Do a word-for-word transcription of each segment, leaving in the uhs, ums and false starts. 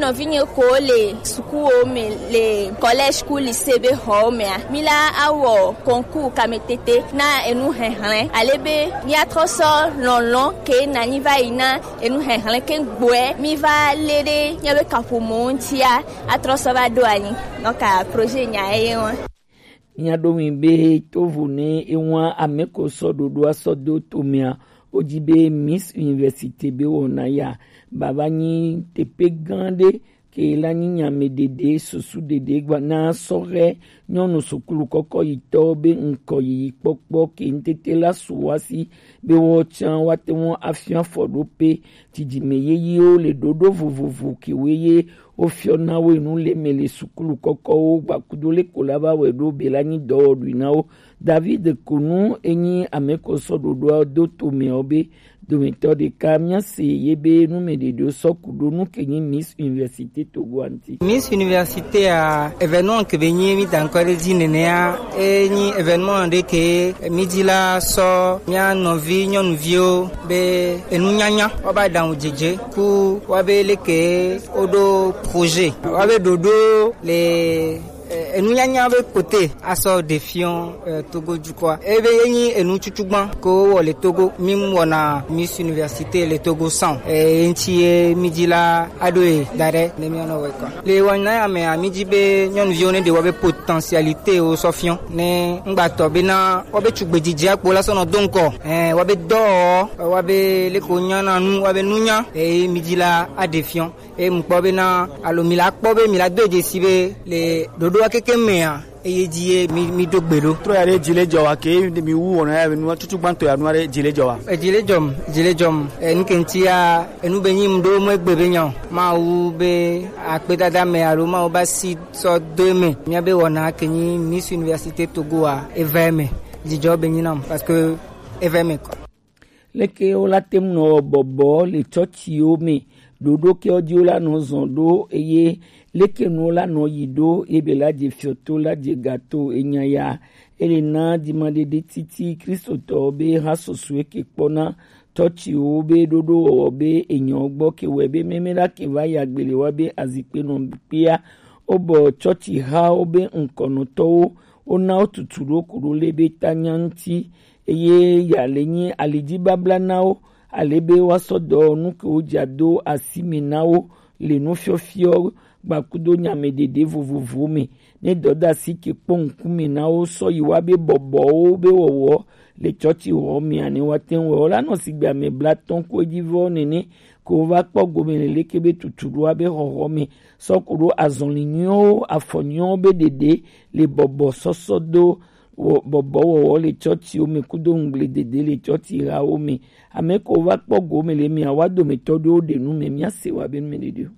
Nɔvinye ko le sukuwo me le collège ku lycée be xɔwo mea, mi la awɔ concours kametete na enu hɛhlɛn ale be miatrɔ sɔ lɔlɔn ke nanyi va yi na enu hɛhlɛn ke gbɔɛ mi va le ɖe miabe kaƒomɔ ŋutia atrɔ sɔ va ɖo anyi. Donc projet nya eye wa. Mia ɖo ŋui be tovo ne ewa ame ko sɔ ɖoɖoa sɔ do tomea, wodzi be Miss Université be wɔna ya bava nyi teƒe gã ɖe ke la nyi nyameɖeɖe, susu ɖeɖe gba na sɔhɛ nyɔnu sukulu kɔkɔ yitɔwo be ŋkɔ yiyi kpɔkpɔ ke ŋtete la su wa si be woawo tsã woate ŋu afia afɔɖoƒe dzidzime yeyewo le ɖoɖo vovovo kewoe ye wofiɔna wo enu le me le sukulu kɔkɔwo gbakudo le ko la va wɛ ɖo be la nyi dɔwɔɖui na wo. David Konu enyi ame ko sɔ ɖoɖoa do to meawo be dometɔ ɖeka, míase ye be nu me ɖeɖewo sɔ ku ɖo nu ke nyi Miss Université Togo a ŋuti. Miss Université a, événement ke be nyi mi da ŋkɔ ɖe dzi nenea, e nyi événement ɖe ke mi dzi la sɔ mia nɔvi nyɔnuviwo be enunyanya wa ba ɖaŋu dzedze ku wa be leke woɖo projet wa be ɖoɖo le eh, enunyanya be kote asɔ ɖe fiɔ eh, Togo dukɔa. Ebe ye nyi enu tutu gbã ko wɔ le Togo. Mi wɔna Miss Université le Togo san. Eh, enti ye mi dzi la aɖo ye da ɖe ne mi anɔ wɛ kɔ. Le wɔna ya me a mi dzi be nyɔnuviwo ne ɖe wɔ be potentialité wo sɔ fiɔ. Ne ŋgbatɔ be na wɔ be tugbe dzidzi akpo la sɔ nɔ do ŋkɔ. Eh, wɔ be dɔ, wɔ be leko nyana nu, wɔ be nunya. Eh, mi dzi la aɖe fiɔ. Eye mukpɔ bena alo mi la kpɔ be mi la do edze si be le ɖoɖoa keke mea eye dzi ye mi mi do gbe ɖo. Trɔ ya ɖe dzi le dzɔ wa ke mi wu wɔna ya nu tutu gbãtɔ ya nu aɖe dzi le dzɔ wa. Edzi le dzɔm, dzi le dzɔm. Enu ke ŋuti ya enu be nyi mu ɖo mu egbe be nya o. Mawu be akpedada me alo Mawu ba si sɔ do eme. Mía be wɔna ke nyi Miss Université Togo a eva eme. Dzidzɔ be nyi nam parce que eva eme kɔ. Leke wola te ŋu nɔ wɔ bɔbɔ le tsɔtsiwo me ɖoɖo ke wo dzi wola nɔ zɔn ɖo eye leke nu wola nɔ yi ɖo ebe la dze fiɔto la dze gato enya ya ele na dzimaɖeɖe titi kristotɔwo be ha susue ke kpɔna tsɔtsiwo be ɖoɖo wɔwɔ be enyɔ gbɔ ke wɛ be meme la ke va ya gbele wa be azikpe nɔ kpea wobɔ tsɔtsi hawo be ŋkɔnɔtɔwo wona wo tutu ɖo ku ɖo le be ta nya ŋuti. Eye ya le nyi alidibabla na wo, ale be woasɔ dɔwɔnu ke wodza do asi me na wo le nufiɔfiɔ gbakudo nyameɖeɖe vovovowo me. Ne dɔdeasi ke kpɔ ŋkume na wo sɔ yi wa be bɔbɔwo be wɔwɔ le tsɔtsixɔ mea ne woate ŋu wɔ la nɔ sigbe ame blatɔ̃ ko edzi vɔ nene ko wova kpɔ gome le leke be tutuɖoa be xɔxɔ me sɔ ku ɖo azɔli nyuiwo afɔ nyuiwo be ɖeɖe le bɔbɔ sɔsɔ do wɔ bɔbɔwɔwɔ le tsɔtsiwo me kudo ŋugble dede le tsɔtsi hawo me. Ame ko va kpɔ go me le mia wa dometɔ ɖewo ɖe nu me mia se wa be nu me ɖeɖe o.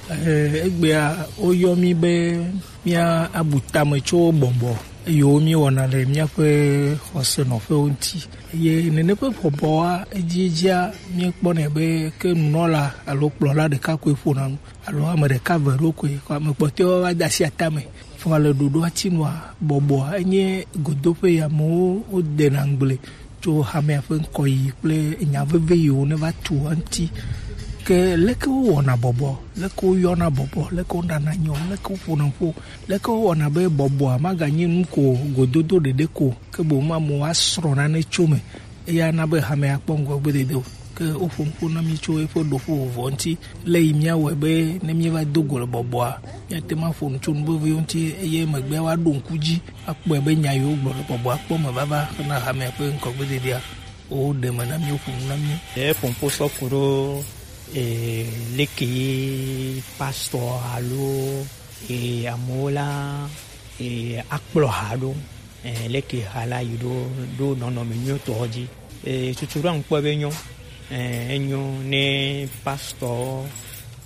Egbea woyɔ mi be mia abu tame tso bɔbɔ yiwo mi wɔna le miaƒe xɔsenɔƒewo ŋuti. Eye nene ƒe bɔbɔa edziedzia mi kpɔnɛ be ke nunɔla alo kplɔla ɖeka koe ƒona nu alo ame ɖeka ve ɖo koe, ame kpɔtɔewo va de asi atame. Vɔ le ɖoɖoa ti nua, bɔbɔa enye godoƒe yi amewo wodena ŋugble tso hamea ƒe ŋkɔyiyi kple nya veve yiwo neva tu eŋuti. Ke leke wowɔna bɔbɔ, leke woyɔna bɔbɔ, leke woɖana nyɔ, leke woƒona ƒo, leke wowɔna be bɔbɔa maganyi nu ko gododo ɖeɖe ko, ke boŋ amewo asrɔ̃ nane tso eme. Eya na be hamea akpɔ ŋgɔgbedede o. Ke woƒo nuƒo na mí tso eƒe ɖoƒo vɔvɔ ŋuti, le yi míawɔe be ne míeva do go le bɔbɔa, míate ŋu aƒo nu tso nu veviwo ŋuti, eye emegbea woaɖo ŋku dzi akpɔe be nya yiwo gblɔ le bɔbɔa kpɔ me vava hena hamea ƒe ŋgɔgbededea. Woɖe me na mí, woƒo nu na mí. Eƒo nuƒo sɔ ku ɖo, eh, leke ye pastor alo, eh, amewo la, eh, akplɔ ha ɖo. Eh, leke ha la yi ɖo, ɖo nɔnɔme nyuitɔ dzi. Eh, tutu ɖo ŋkpɔ be nyɔ. Eh, enyo ne pastor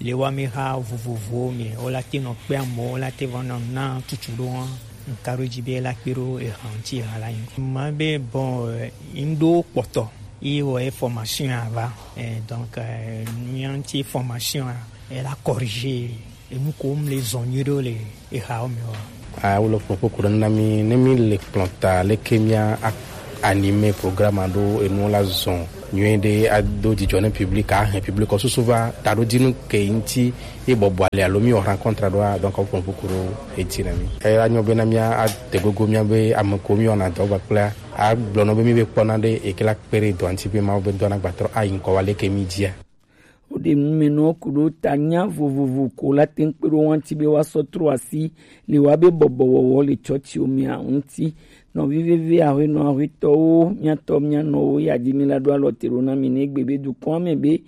le wa mi ha vovovowo me, wo la te nɔ kpe amewo, wo la te va nɔ na tutu ɖo wa. Nka ɖo dzi be la kpe ɖo eha ŋuti ha la yi. Ma be bon, eh, ŋɖo kpɔtɔ. Yi wɔ ye formation ava. Eh, donc, eh, nu ya ŋuti formation a, e la corriger. Enu ko mle zɔn nyuie ɖe le ehawo me wa. A, wole kpɔ kpɔkpɔ ɖe na mi, ne mi le kplɔ ta, leke mia a-, Animer programme aɖo enuwo la zɔn nyuie ɖe ado dzidzɔ ne public, ahɛn public susu va taɖodinu ke ŋuti ye bɔbɔ ali alo mi wɔ rencontre aɖoa, donc wo kplɔ ƒoƒu ɖo eti na mi. Eya nyɔ bena mía ade gogo mía be ame ko mi wɔna dɔ kpakplea agblɔ nɔ be mi be kpɔna ɖe eke la kpe ɖe dɔ ŋuti be Mawu be dɔ na gbatrɔ ayi ŋkɔ wa leke mi dzia. Woɖe numɛnɔwo ku ɖo ta nya vovovo ko la te ŋu kpe ɖo wo ŋuti be woasɔ trɔ asi le woabe bɔbɔwɔwɔ le tsɔtsiwo mea ŋuti. Nɔvi vevi aƒenɔ aƒetɔwo, mía tɔ mía nɔwo ya di mi la ɖo alɔ te ɖo na mi ne egbe be dukɔa me be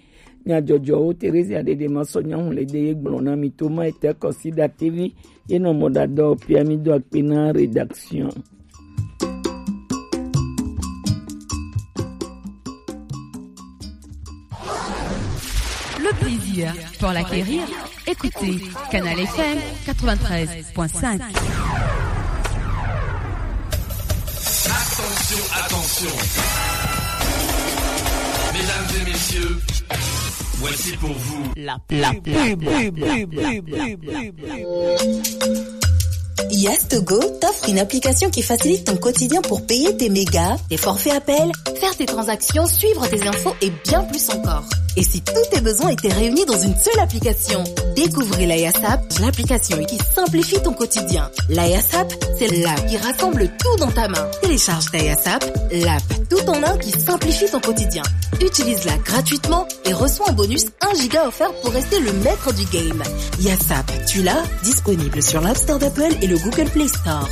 nyadzɔdzɔwo Teresia ɖeɖe ma sɔ nyahu le de ye gblɔ na mi to ma ete kɔsi ɖatevi ye nɔ mɔ ɖadɔ pia mi do akpe na rédaction. Le plaisir pour l'acquérir, écoutez Canal F M quatre-vingt-treize point cinq. Attention, attention. Mesdames et messieurs, voici pour vous la, la pub. Yastogo t'offre une application qui facilite ton quotidien pour payer tes mégas, tes forfaits appels, faire tes transactions, suivre tes infos et bien plus encore. Et si tous tes besoins étaient réunis dans une seule application ? Découvrez la Yasap, l'application qui simplifie ton quotidien. La Yasap, c'est l'app qui rassemble tout dans ta main. Télécharge ta Yasap, l'app tout en un qui simplifie ton quotidien. Utilise-la gratuitement et reçois en bonus un giga offert pour rester le maître du game. Yasap, tu l'as, disponible sur l'App Store d'Apple et le Google Play Store.